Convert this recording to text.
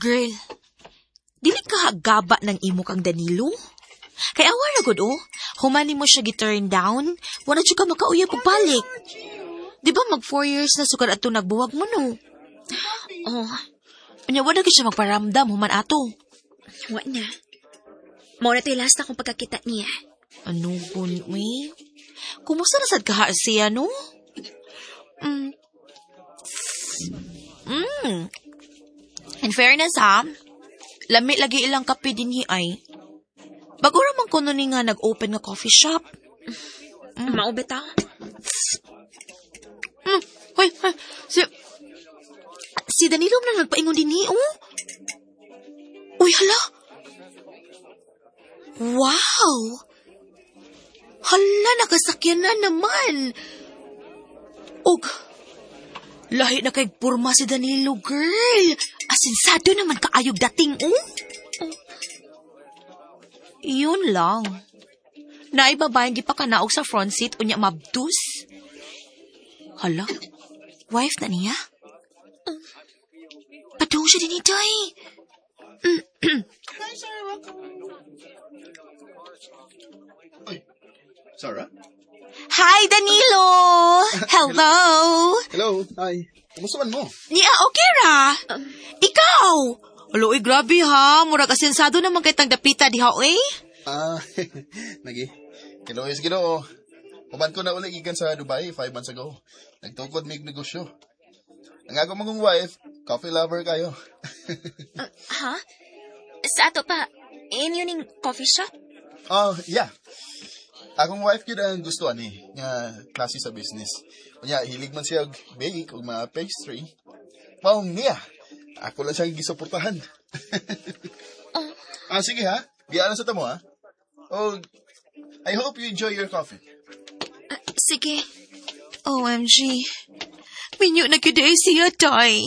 Girl, dili ka gaba ng imo kang Danilo? Kay awa ra gud oh. Human nimo siya gi-turn down, wala jud ka makauyab pagbalik. Di ba mag 4 years na sukad ato nagbuwag mo, no? Oh. Unya wala gyud siya magparamdam human ato. Wa na. Mao na to'y last akong pagkakita niya. Ano gun, uy? Kumusta na sad kaha siya, no? In fairness, ha? Lami lagi ilang kape dinhi ay. Bago ra man kuno ni nga nag-open nga coffee shop. Mao bitaw. Hoy, hoy, si Danilo man ang nagpaingon dinhi, oh. Uy, hala. Wow! Hala, nakasakyan na naman. Og, lahi na kay porma si Danilo, girl. Asinsado naman kaayog dating, oh. Yun lang. Naay babaeng gipakanaog sa front seat unya mabdus. Hala, wife na niya? Padung siya dinhi, day. Hi, Sarah. Welcome. Ay, Sarah? Hi, Danilo! Hello! Hello. Hi. Kumusta man mo? Niya, okay ra. Ikaw! Alo, uy, grabe ha. Murag asensado naman kay tang dapita diha, eh. Ah, nagi. Hello, is Ginoo. Human ko na uli gikan sa Dubai 5 months ago. Nagtukod mig negosyo. Ang ako mong wife, coffee lover kayo. Ha? Sa ato pa, inyo ning coffee shop? Oh, yeah. Akong wife gyud ang gusto ani nga klase sa business. Unya hilig man siya og bake ug mga pastry. Maong niya. Ako lang siyang gisuportahan. Ah, sige ha. Biyaan na sa tamo ha. Oh, I hope you enjoy your coffee. Sige. OMG. Minyo na gyud ay siya, day.